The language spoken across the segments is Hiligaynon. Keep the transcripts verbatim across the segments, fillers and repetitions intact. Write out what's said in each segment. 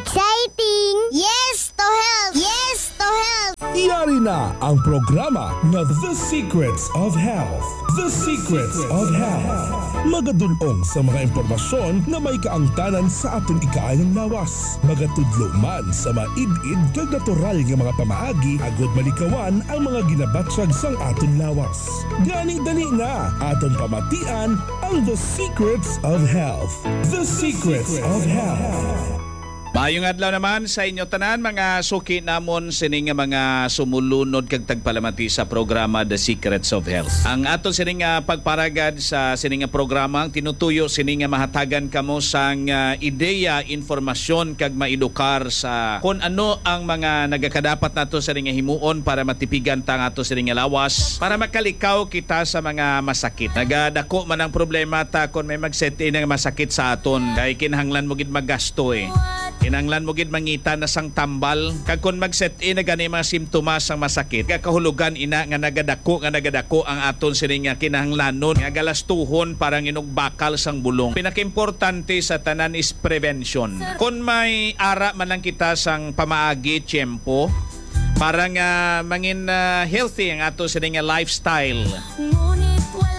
Exciting! Yes to health! Yes to health! Yari na ang programa nga The Secrets of Health. The Secrets of Health. Magadul-ong sa mga impormasyon nga may kaangtanan sa aton ikaayong lawas. Magatudlo man sa maid-id kag natural nga mga pamaagi agud malikawan ang mga ginabatyag sang aton lawas. Gani dali na, aton pamatian ang The Secrets of Health. The Secrets of Health. Maayong adlaw naman sa inyo tanan, mga suki namon sini nga mga sumulunod kag tagpalamati sa programa The Secrets of Health. Ang ato sini nga pagparagad sa sini nga programa, ang tinutuyo sini nga mahatagan kamo sang, ah, ideya, informasyon kag maedukar sa kon ano ang mga nagakadapat nato sini nga himuon para matipigan ta ang ato sini nga lawas, para makalikaw kita sa mga masakit. Nagadako man ang problema ta kon may mag-set in nga masakit sa aton, kay kinahanglan mo gid magasto eh. Kinahanglan mo gid mangita na sang tambal. Kag kon mag-set in na gani mga simptomas sang masakit, kakahulugan ina nga nagadako, nga nagadako ang aton sini nga kinahanglanon nga galastuhon para nginog bakal sang bulong. Pinakaimportante sa tanan is prevention. Kon may ara man lang kita sang pamaagi, tiyempo, para nga mangin, ah, healthy ang ato sini nga lifestyle.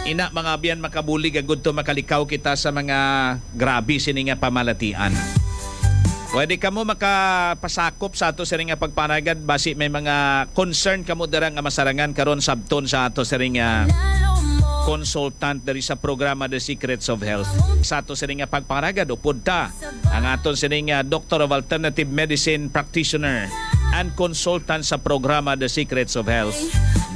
Ina, mga abyan, makabulig agud to makalikaw kita sa mga grabe sini nga pamalatian. Pwede kamo makapasakop sa ato sini nga pagpanagad basi may mga concern kamo dira nga masarangan karon sabton sa ato sini nga consultant diri sa programa The Secrets of Health. Sa ato sini nga pagpanagad, upod ta ang aton sini nga Doctor of Alternative Medicine practitioner and consultant sa programa The Secrets of Health,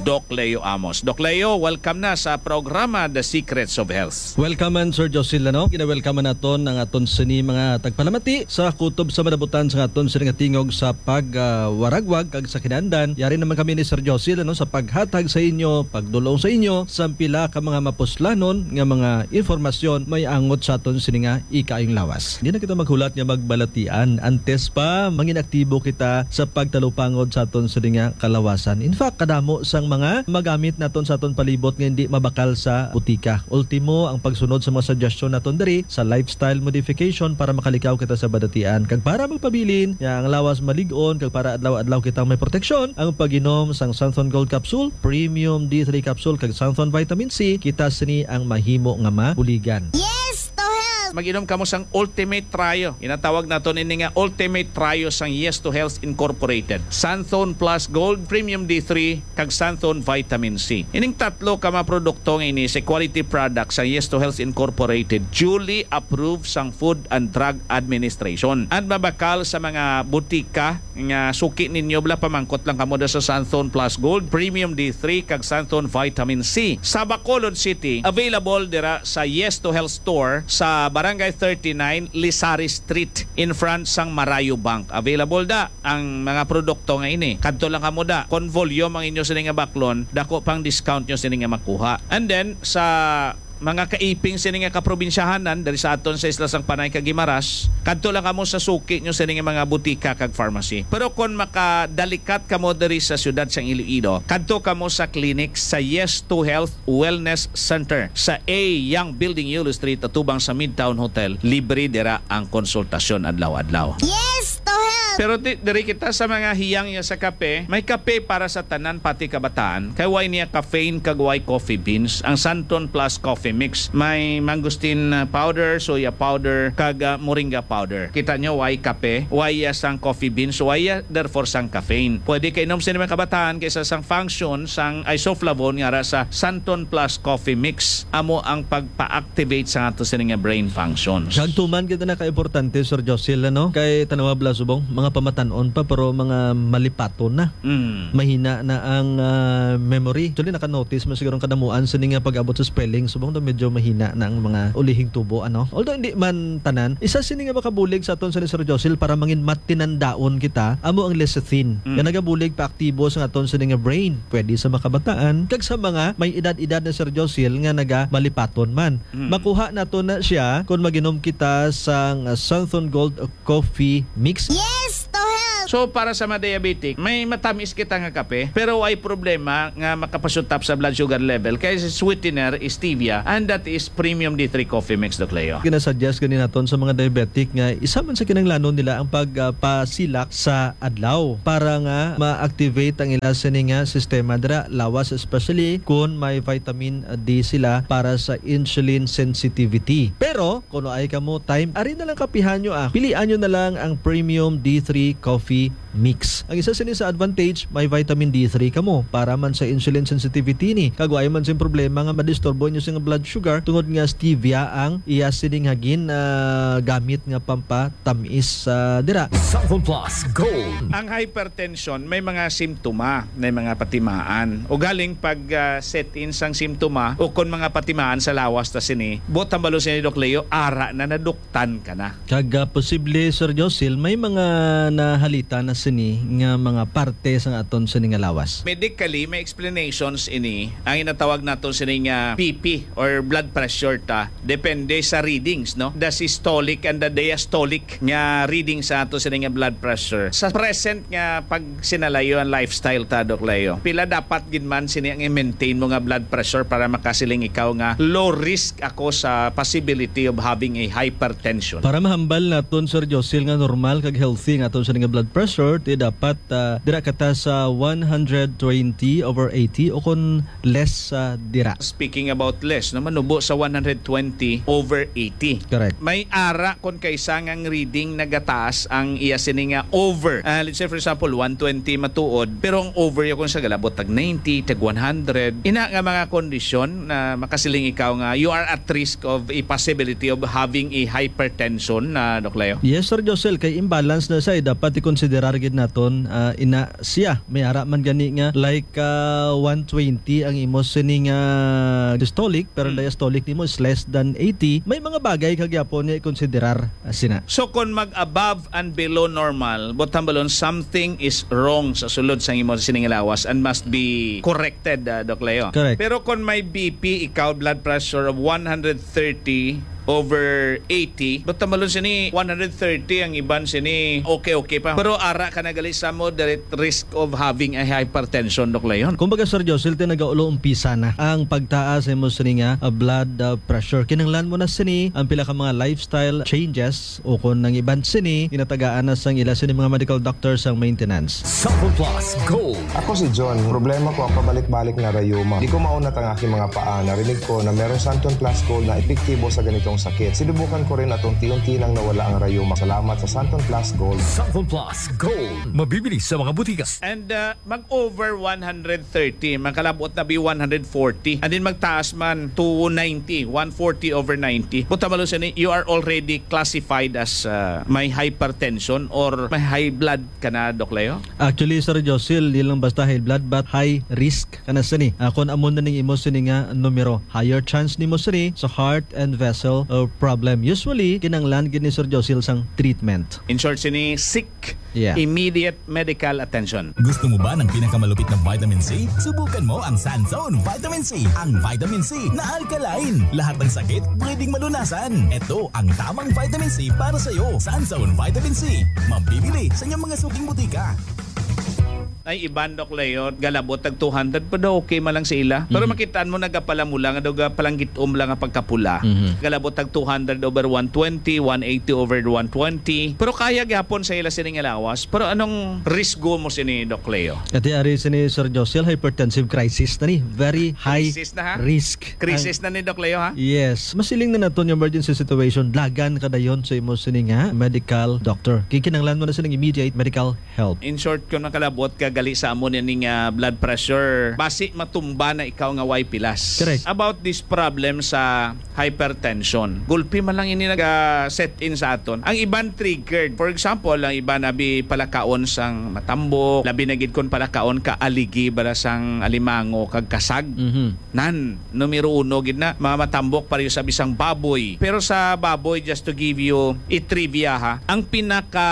Doc Leo Amos. Doc Leo, welcome na sa programa The Secrets of Health. Welcome man, Sir Josil, ano? Gina-welcome man naton ang aton sini mga tagpalamati sa kutob sa madabutan sa aton sini nga tingog sa pag, ah, waragwag kag sa kinaandan. Yari naman kami ni Sir Josil, ano, sa paghatag sa inyo, pagdulong sa inyo sa pila ka mga mapuslanon nga mga informasyon may angot sa aton sini nga ikaayong lawas. Di na kita maghulat nga magbalatian antes pa mangin aktibo kita sa pagtalupangod sa aton sini nga kalawasan. In fact, kadamo sang mga magamit naton sa aton palibot nga hindi mabakal sa butika. Ultimo, ang pagsunod sa mga suggestion naton diri sa lifestyle modification para makalikaw kita sa balatian. Kag para magpabilin nga ang lawas malig-on kag para adlaw-adlaw kitang may proteksyon, ang pag-inom sang Santhon Gold Capsule, Premium D three Capsule, kag Santhon Vitamin C, kita sini ang mahimo nga mabuligan. Yes to health! Mag-inom kamo sang Ultimate Trio. Ginatawag naton ini nga Ultimate Trio sang Yes to Health Incorporated. Santhon Plus Gold, Premium D three, kag Santhon Vitamin C. Ining tatlo ka mga produkto nga ini sa quality product sa Yes to Health Incorporated, duly approved sang Food and Drug Administration, and mabakal sa mga butika nga suki ninyo, bala, pamangkot lang kamo da sa Santhon Plus Gold, Premium D three, kag Santhon Vitamin C. Sa Bacolod City, available dira sa Yes to Health Store sa Barangay thirty-nine, Lisari Street, in front sang Marayo Bank. Available da ang mga produkto nga ini. Kadto lang kamo da. Kon volume ang inyo sini nga baklon, dako pang discount nyo sini nga makuha. And then, sa mga kaiping sini nga kaprobinsyahanan diri sa aton sa Isla sang Panay kag Guimaras, kadto lang kamo sa suki nyo sini nga mga butika kag pharmacy. Pero kon makadalikat kamo diri sa siyudad sang Iloilo, kadto kamo sa clinic sa Yes to Health Wellness Center sa A Young Building, Yulo Street, atubang sa Midtown Hotel. Libre dira ang konsultasyon adlaw-adlaw. Yes to health! Pero di, diri kita sa mga hiyang ya sa kape. May kape para sa tanan, pati kabataan. Kay way niya caffeine kag way coffee beans. Ang Santon Plus Coffee Mix. May mangosteen, uh, powder, soya powder, kag, uh, moringa powder. Kita nyo, way kape, way, uh, sang coffee beans, way, uh, therefore sang caffeine. Pwede kainom sini mga kabataan kaysa sang function sang isoflavone nga ara sa Santon Plus Coffee Mix. Amo ang pagpa-activate sa ato sini nga brain functions. Kag tuman kita na ka-importante, Sir Josil, ano? Kay tanawa bala subong, mga pamatan-on pa, pero mga malipaton na. Mm. Mahina na ang, ah, memory. Actually, naka-notice mo siguro ang kadamuan sini nga pag-abot sa spelling. Subong daw medyo mahina na ang mga ulihing tubo, ano? Although hindi man tanan, isa sini nga makabulig sa aton sa ni Sir Josil para mangin matinandaon kita, amo ang lecithin. Mm. Nga nagabulig pa aktibo sa aton sini nga brain. Pwede sa makabataan, kag sa mga may edad-edad na, Sir Josil, nga nagamalipaton man. Mm. Makuha nato na siya kung mag-inom kita sang Santhon Gold Coffee Mix. Yes to health! So, para sa mga diabetic, may matamis kita nga kape, pero ay problema nga makapasutap sa blood sugar level kay sweetener, stevia, and that is premium D three coffee mix, Doc Leo. Ginasuggest gani naton sa mga diabetic nga isa man sa kinahanglanon nila ang pagpasilak sa adlaw para nga ma-activate ang ila sini nga sistema dira, lawas, especially kung may vitamin D sila para sa insulin sensitivity. Pero kung ay kamo time, ari na lang kapihan nyo, ah. Pilian nyo na lang ang premium D three coffee mix. Ang isa sini sa advantage, may vitamin D three kamo para man sa insulin sensitivity ni. Kag wa man sing problema nga madisturbo inyo sing blood sugar tungod nga stevia ang iya sining hagin, ah, gamit nga pampatamis, ah, dira. Sample Plus Gold. Ang hypertension may mga simptoma, may mga patimaan. Ugaling pag, ah, set in sang simptoma o kon mga patimaan sa lawas ta sini, buot hambalon sini, Doc Leo, ara na, naduktan ka na. Kag, ah, posible, Sir Josil, may mga nahalita na sini nga mga parte sang aton sini nga lawas. Medically, may explanations ini. Ang ginatawag naton sini nga B P or blood pressure ta, depende sa readings, no? The systolic and the diastolic nga reading sa ato sini nga blood pressure. Sa present nga pagsinalayo ang lifestyle ta, Doc Leo, pila dapat gid man sini ang i-maintain mo nga blood pressure para makasiling ikaw nga low risk ako sa possibility of having a hypertension? Para mahambal naton, Sir Josil, nga normal kag healthy nga aton sini nga blood pressure, ti dapat, ah, dira ka ta sa one hundred twenty over eighty o kon less, ah, dira. Speaking about less, no, manubo sa one hundred twenty over eighty. Correct. May ara kon kaisa nga ang reading nagataas ang iya sini nga over. Ah, let's say, for example, one twenty matuod, pero ang over ya kon sa galabot tag ninety, tag one hundred. Ina nga mga kondisyon na makasiling ikaw nga you are at risk of a possibility of having a hypertension, na, Doc Leo? Yes, Sir Josel, kay imbalance na siya, eh. Dapat i-considerar gid naton, ah, ina siya. May ara man gani nga, like, ah, one twenty ang imo sini nga systolic, pero Hmm. diastolic nimo is less than eighty. May mga bagay ka gyapon nga i-considerar, ah, sina. So, kung mag-above and below normal, buot hambalon, something is wrong sa sulod sang imo sining lawas and must be corrected, ah, Doc Leo. Correct. Pero kung may B P ikaw, blood pressure of one hundred thirty over eighty, buot hambalon sini one hundred thirty, ang iban sini okay-okay pa. Pero ara ka na gali sa moderate risk of having a hypertension, Doc Leon. Kumbaga, Sir Josel, ti nagaulo umpisa na ang pagtaas sa imo sini nga, ah, blood, ah, pressure. Kinahanglan mo na sini ang pila ka mga lifestyle changes o kung ang iban sini ginatagaan na sang ila sini mga medical doctor sang maintenance. Sample Plus Gold. Ako si John. Problema ko ang pabalik-balik nga rayuma. Di ko maunat ang aking mga paa. Narinig ko na merong Santon Plus Gold na epektibo sa ganitong sakit. Sinubukan ko rin at unti-unti nang nawala ang rayuma. Salamat sa Santon Plus Gold. Sample Plus Gold. Mabibili sa mga butika. And, uh, mag-over one hundred thirty, makalabot na bi one hundred forty. And then magtaas man to ninety, one forty over ninety. Buot hambalon sini, you are already classified as, uh, may hypertension or may high blood ka na, Doc Leo? Actually, Sir Josel, di lang basta high blood, but high risk ka na sini. Ah, kung amo na ning imo sini nga numero, higher chance nimo sini sa heart and vessel, uh, problem. Usually, kinanglan gid ni Sir Josel sang treatment. In short, sini, seek Yeah. immediate medical attention. Gusto mo ba ng pinakamalupit na vitamin C? Subukan mo ang Sanzone Vitamin C. Ang vitamin C na alkaline. Lahat ng sakit pwedeng malunasan. Ito ang tamang vitamin C para sa'yo. Sanzone Vitamin C. Mabibili sa inyong mga suking butika. Ay, iban, Doc Leo, galabot tag two hundred, pero okay man lang sa ila. Pero Mhm. makitaan mo, nagapalamula nga daw, gapalanggit-om lang ang pagkapula. Mhm. Galabot tag two hundred over one twenty, one eighty over one twenty. Pero kaya gyapon sa ila sining lawas. Pero anong risgo mo sini, Doc Leo? Ati ari sini, Sir Josel, hypertensive crisis na ni. Very high Crisis na, ha? risk. Crisis Ang na ni, Doc Leo, ha? Yes. Masiling na naton yung emergency situation. Dagan ka dayon sa imo sini nga medical doctor. Kikinanglan mo na sining immediate medical help. In short, kung makalabot ka gali sa amo nining, ah, blood pressure, basi matumba na ikaw nga way pilas. Correct. About this problem sa hypertension, gulpi man lang ini naga-set in sa aton. Ang iban triggered. For example, ang iban abi palakaon sang matambok, labi na gid kon palakaon ka aligi bala sang alimango kag kasag. Mhm. Nan, numero uno gid na, mga matambok pareho sa bisang baboy. Pero sa baboy, just to give you a trivia, ha, ang pinaka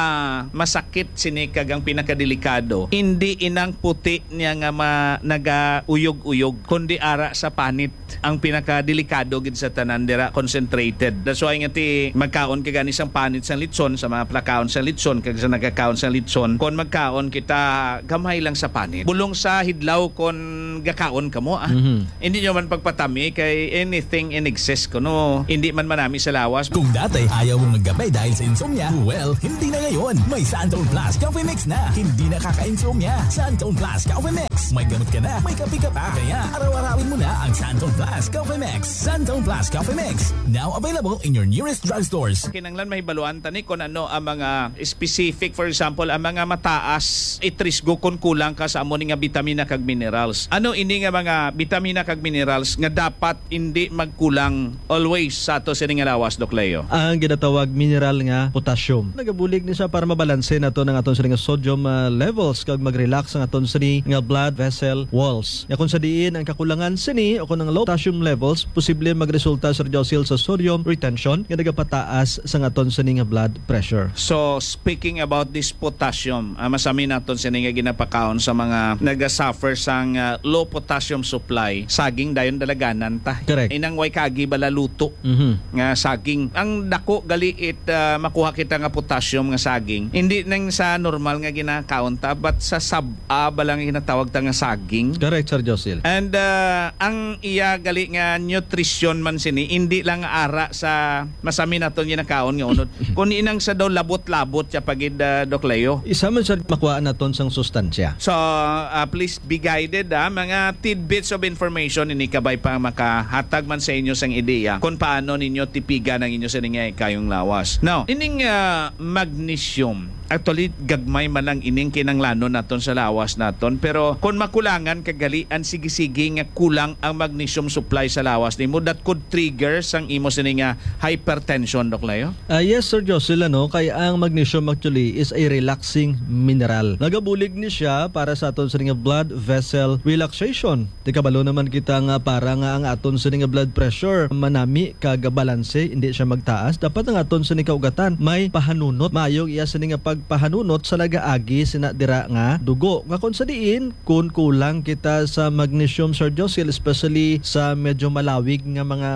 masakit sini kag ang pinakadelikado, hindi inang puti niya nga ma-, nagauyog-uyog, kundi ara sa panit. Ang pinakadelikado gid sa tanan dira, concentrated. That's why nga ti magkaon ka gani sang panit sang litson, sa mga plakaon sang litson, kag sa nagkakaon sang litson, kon magkaon kita, gamay lang sa panit. Bulong sa hidlaw kon gakaon kamo, ah. Mhm. Hindi nyo man pagpatami kay anything in excess kuno hindi man manami sa lawas. Kung dati ayaw mong maggabay dahil sa insomnia, well, hindi na ngayon. May Santon Plus Coffee Mix na. Hindi na kaka-insomnia. Santon Plus Coffee Mix. May gamot ka na, may kape ka pa. Kaya araw-arawin mo na ang Santon Plus Coffee Mix. Santon Plus Coffee Mix. Now available in your nearest drugstores. Kinanglan mahibaluan ta ni kung ano ang mga specific, for example, ang mga mataas itrisgo kung kulang ka sa amo ni nga bitamina kag minerals. Ano ini nga mga bitamina kag minerals nga dapat hindi magkulang always sa ato sini nga lawas, Doc Leo? Ang ginatawag mineral nga potassium. Nagabulig ni siya para mabalanse nato ang aton sini nga sodium, ah, levels kag mag-relax ang aton sini nga blood vessel walls. Nga kung sa diin ang kakulangan sini o kung ang low potassium levels, posible magresulta, Sir Josil, sa sodium retention nga nagapataas sa aton sini nga blood pressure. So, speaking about this potassium, ah, masami naton sini nga ginapakaon sa mga nagasuffer sang, ah, low potassium supply. Saging dayon dalaganan ta. Correct. Inang way kagi bala luto Mhm. nga saging. Ang dako gali it, ah, makuha kita nga potassium nga saging. Hindi nang sa normal nga ginakaon ta, but sa sab-a bala nga ginatawag ta nga saging. Correct, Sir Josil. And, ah, ang iya gali nga nutrition man sini, hindi lang ara sa masami naton ginakaon nga unod. Kung inang sa daw labot-labot siya pagid, ah, Doc Leo. Isa man siya makuhaan naton sang sustansya. So, ah, please be guided, ah. Mga tidbits of information ini kabay pa makahatag man sa inyo sang ideya kung paano ninyo tipigan ang inyo sini nga ikayong lawas. Now, ining, ah, magnesium, actually, gagmay man lang ining kinanglanon naton sa lawas naton, pero kung makulangan ka gali, ang sige-sige nga kulang ang magnesium supply sa lawas nimo, that could trigger sang imo sini nga hypertension, Doc Leo? Ah, yes, Sir Jocelyn, ano, kay ang magnesium actually is a relaxing mineral. Nagabulig ni siya para sa aton sini nga blood vessel relaxation. Di kabalo naman kita nga para nga ang aton sini nga blood pressure manami kag balanse, hindi siya magtaas. Dapat ang aton sini kaugatan may pahanunot. Maayo ang iya sini nga pagpahanunot sa nagaagi sina dira nga dugo. Nga kon sa diin, kun kulang kita sa magnesium, Sir Josil, especially sa medyo malawig nga mga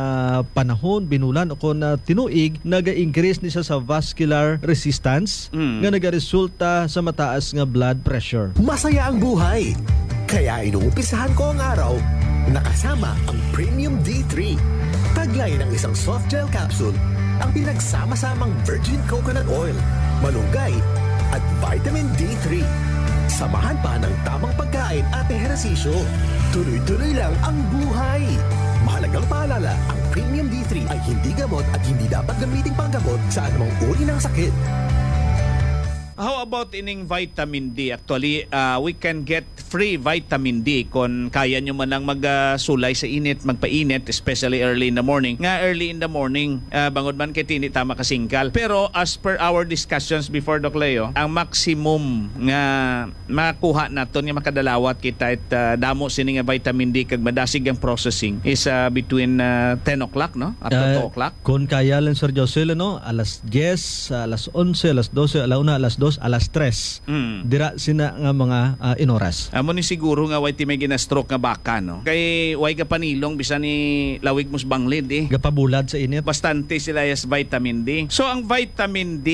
panahon, binulan o kon, ah, tinuig, naga-increase ni siya sa vascular resistance Mm. nga nagaresulta sa mataas nga blood pressure. Masaya ang buhay. Kaya inuumpisahan ko ang araw na kasama ang Premium D three. Taglay ng isang soft gel capsule ang pinagsama-samang virgin coconut oil, malunggay, at vitamin D three. Samahan pa ng tamang pagkain at ehersisyo. Tuloy-tuloy lang ang buhay. Mahalagang paalala, ang Premium D three ay hindi gamot at hindi dapat gamiting panggamot sa anumang uri ng sakit. How about ining vitamin D? Actually, ah, we can get free vitamin D kon kaya nyo man lang mag, ah, sulay sa init, magpainit, especially early in the morning. Nga early in the morning, ah, bangod man kay tini ta makasingkal. Pero as per our discussions before, Doc Leo, ang maximum nga makuha naton nga makadalawat kita it, ah, damo sini nga vitamin D kag madasig ang processing is, ah, between, ah, ten o'clock, no? Up to Ah, two o'clock. Kon kaya lang, Sir Josel, ano, alas diyes, alas onse, alas dose, ala una, alas dos, alas tres. Mm. Dira sina nga mga, ah, inoras. Amo ni siguro nga way ti may gina-stroke nga baka, no? Kay way ka panilong bisan ni lawig mo sa banglid, eh. Gapabulad sa init. Bastante sila yes vitamin D. So, ang vitamin D,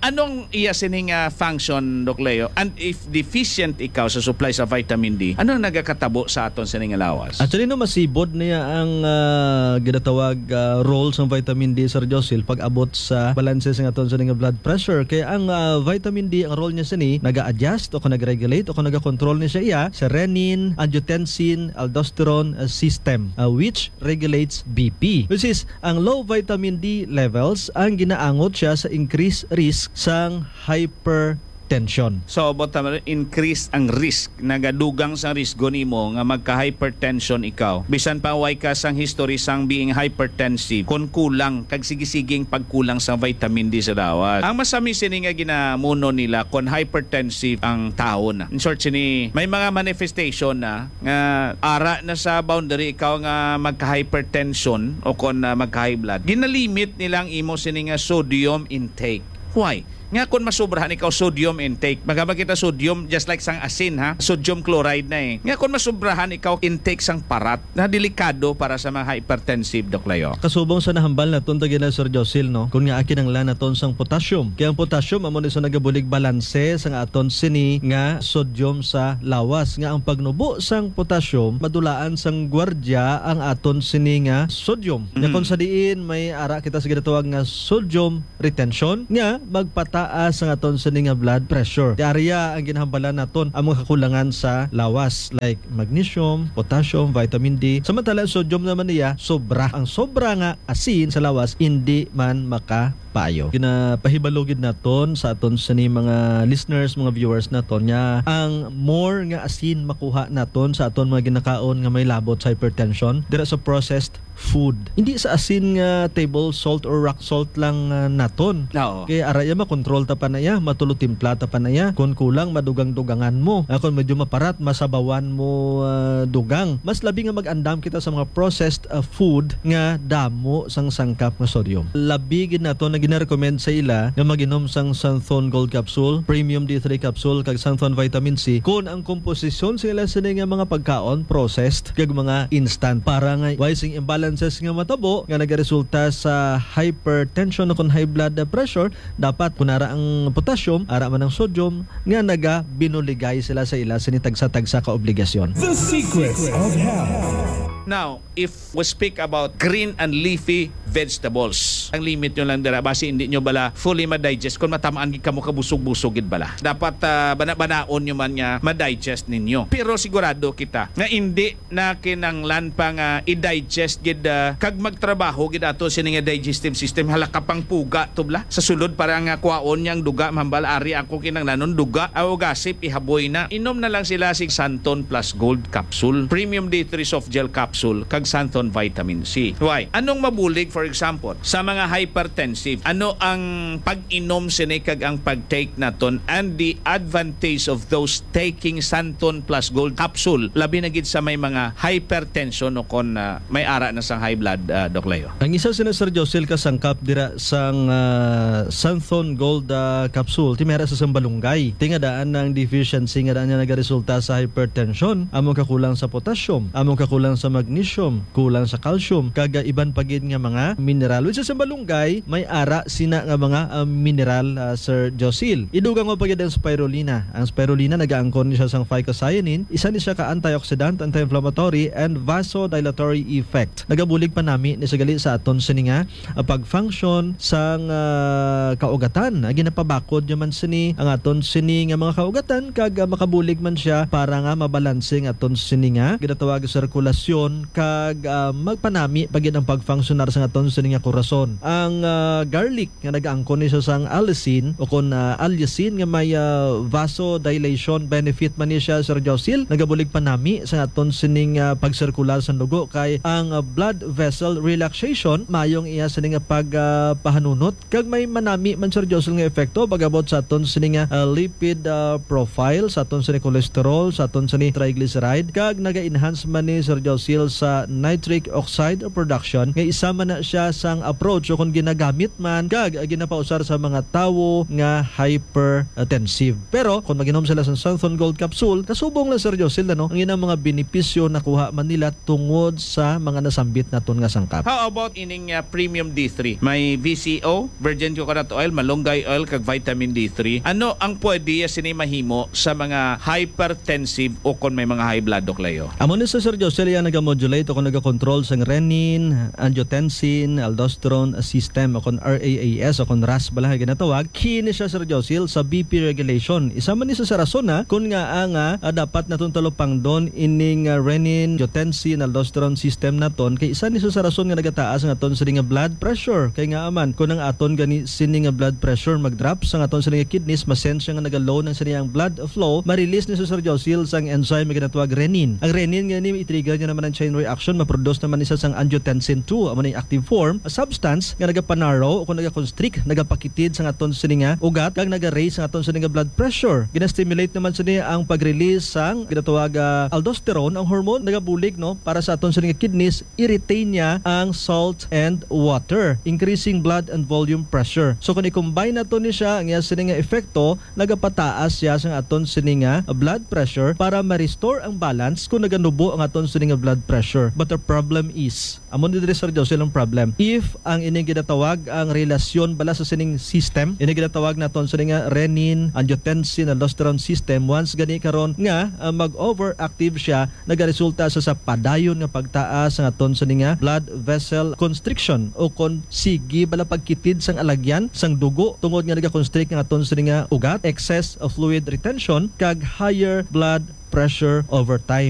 anong iya sini nga function, Doc Leo? And if deficient ikaw sa supply sa vitamin D, ano ang nagakatabo sa aton sini nga lawas? Actually, no, masibod niya ang, ah, ginatawag, ah, role sang vitamin D, Sir Josil, pag-abot sa balanse sa aton sini nga blood pressure. Kaya ang, ah, vitamin D, ang role niya sini, naga-adjust o kung nag-regulate o kung nag-control ni siya iya sa renin, angiotensin, aldosterone, ah, system, ah, which regulates B P. Which is, ang low vitamin D levels, ang ginaangot siya sa increased risk sang hypertension. So, about naman, increase ang risk, nagadugang sang risgo nimo nga magka-hypertension ikaw. Bisan pa way ka sang history sang being hypertensive, kung kulang, kag sige-sige ang pagkulang sa vitamin D sa lawas. Ang masami sini nga ginamuno nila, kung hypertensive ang tawo na. In short, sini, may mga manifestation na nga ara na sa boundary ikaw nga magka-hypertension o kon, ah, magka-high blood, ginalimit nila ang imo sini nga sodium intake. Why? Nga kon masubrahan ikaw sodium intake, magabag kita sodium just like sang asin, ha? Sodium chloride na eh. Nga kon masubrahan ikaw intake sang parat, na delikado para sa mga hypertensive, Doc Leo. Kasubong sa nahambal naton tagina, Sir Josil, no? Kung nga kinahanglan naton sang potassium. Kaya ang potassium amo ni sa nagabulig balanse sang aton sini nga sodium sa lawas, nga ang pagnubo sang potassium madulaan sang gwardiya ang aton sini nga sodium. Nga Mhm. kung sa diin may ara kita sa ginatawag nga sodium retention nga magpataas ang aton sini nga blood pressure. Di area ang ginahambalan naton ang mga kakulangan sa lawas, like magnesium, potassium, vitamin D. Samantala, ang sodium naman niya, sobra. Ang sobra nga asin sa lawas, hindi man makapaayo. Ginapahibalo gid naton sa aton sini mga listeners, mga viewers naton, nga ang more nga asin makuha naton sa aton mga ginakaon nga may labot sa hypertension, dira sa processed food. Hindi sa asin nga table salt or rock salt lang, ah, naton. Oo. Kay ara iya, makontrol ta pa na iya, matulo timpla ta pa na iya. Kung kulang, madugang-dugangan mo. Ah, kung medyo maparat, masabawan mo, ah, dugang. Mas labi nga mag-andam kita sa mga processed, ah, food nga damo sang sangkap nga sodium. Labi gid nato na ginarecommend sa ila nga mag-inom sang Santhon Gold Capsule, Premium D three Capsule, kag Santhon Vitamin C kung ang komposisyon sa ila sini nga mga pagkaon processed kag mga instant, para nga way sing imbalances nga matabo nga nagaresulta sa hypertension o kon high blood pressure. Dapat kun ara ang potassium, ara man ang sodium, nga nagabinuligay sila sa ila sini tagsa-tagsa ka obligasyon. The Secrets of Health. Now, if we speak about green and leafy vegetables, ang limit nyo lang dira, basi hindi nyo bala fully ma-digest kung matamaan gid kamo kabusog-busog gid bala. Dapat, ah, bana-banaon nyo man nga ma-digest ninyo. Pero sigurado kita nga hindi na kinanglan pa nga i-digest gid, ah, kag magtrabaho gid ato sini nga digestive system. Hala ka pang puga to bala. Sa sulod para nga kwaon niya ang duga, mahambal ari ako kinanglanon duga, aw gasip ihaboy na. Inom na lang sila si Santon Plus Gold Capsule, Premium D three Soft Gel Capsule, kag Santon Vitamin C. Why? Anong mabulig, for example, sa mga hypertensive? Ano ang pag-inom sini kag ang pag-take naton and the advantage of those taking Santon Plus Gold Capsule, labi na gid sa may mga hypertension o kon, ah, may ara na sang high blood, ah, Doc Leo? Ang isa sina, Sir Josil, ka sangkap dira sang, ah, Santhon Gold, ah, Capsule, ti may ara sa sambalunggay. Ti nga daan ang deficiency nga daan nga nagaresulta sa hypertension, among kakulang sa potassium, among kakulang sa magnesium, kulang sa calcium, kag, ah, iban pa gid nga mga mineral. Which is, ang sambalunggay may ara sina nga mga, ah, mineral, ah, Sir Josil. Idugang mo pa gid ang spirulina. Ang spirulina nagaangkon ni siya sang phycocyanin, isa ni siya ka antioxidant, anti-inflammatory, and vasodilatory effect. Nagabulig panami ni sa gali sa aton sini nga, ah, pag-function sang, ah, kaugatan. Ah, ginapabakod niya man sini ang aton sini nga mga kaugatan kag, ah, makabulig man siya para nga mabalanse ang aton sini nga ginatawag sirkulasyon kag, ah, magpanami pa gid ang pagfunksyonar sang aton sini nga korason. Ang, ah, garlic nga nagaangkon ni siya sang allicin o kon, ah, allicin nga may, ah, vasodilation benefit man ni siya, Sir Josil, nagabulig panami sa aton sining, ah, pagsirkular sa dugo kay ang, ah, blood vessel relaxation maayong iya sining, ah, pag, ah, pahanunot kag may manami man, Sir Josil, nga epekto pag-abot sa aton sining, ah, lipid, ah, profile, sa aton sining cholesterol, sa aton sining triglyceride, kag naga-enhance man ni, Sir Josil, sa nitric oxide production nga isa man na siya sang approach o kon ginagamit man kag ginapausar sa mga tawo nga hypertensive. Pero kon mag-inom sila sa Santhon Gold Capsule, kasubong lang, Sir Josil, ano, ang ilang mga benepisyo nakuha man nila tungod sa mga nasambit naton nga sangkap. How about ining, uh, Premium D three? May V C O, virgin coconut oil, malunggay oil, kag vitamin D three. Ano ang pwede sini mahimo sa mga hypertensive o kon may mga high blood, Doc Leo? Amo ni sa, Sir Josil, iya naga-modulate o kon naga-control sang renin, angiotensin, aldosterone system o kon R A A S o kon ras bala nga ginatawag. Key ni siya, Sir Josil, sa B P regulation. Isa man ni sa, sa rason na kun ngaa nga, ah, dapat naton talupangdon ining, ah, renin, angiotensin, aldosterone system naton kay isa ni sa, sa rason nga nagataas ang aton sini nga blood pressure. Kay ngaa man, kun ang aton gani sini nga blood pressure mag-drop, sang aton sini nga kidneys, ma-sense siya nga naga-low nang sini ang blood flow, ma-release ni, Sir Josil, sang enzyme nga ginatawag renin. Ang renin nga ni i-trigger niya naman ang chain reaction, ma-produce naman isa sang angiotensin two, amo ni active form a substance nga nagapanarrow o kung nagaconstrict, nagapakitid sa aton sini nga ugat, kag nagaraise sa aton sini nga blood pressure. Ginastimulate naman sini ang pag-release sang ginatawag, ah, aldosterone, ang hormone nagabulig, no, para sa aton sini nga kidneys, i-retain niya ang salt and water, increasing blood and volume pressure. So kung i-combine nato ni siya, ang iya sini nga epekto, nagapataas siya sa aton sini nga blood pressure para ma-restore ang balance kung naganubo ang aton sini nga blood pressure. But the problem is, amo ni diri, Sir Joe, silang problem. If ang ining ginatawag ang relasyon bala sa sining system, ining ginatawag naton sini nga renin, angiotensin, aldosterone system, once gani karon nga, ah, mag-overactive siya, nagaresulta sa, sa padayon nga pagtaas sa aton sini nga blood vessel constriction, o kon sige bala pagkitid sang alagyan sang dugo tungod nga nagaconstrict ang aton sini nga ugat, excess of fluid retention, kag higher blood pressure over time.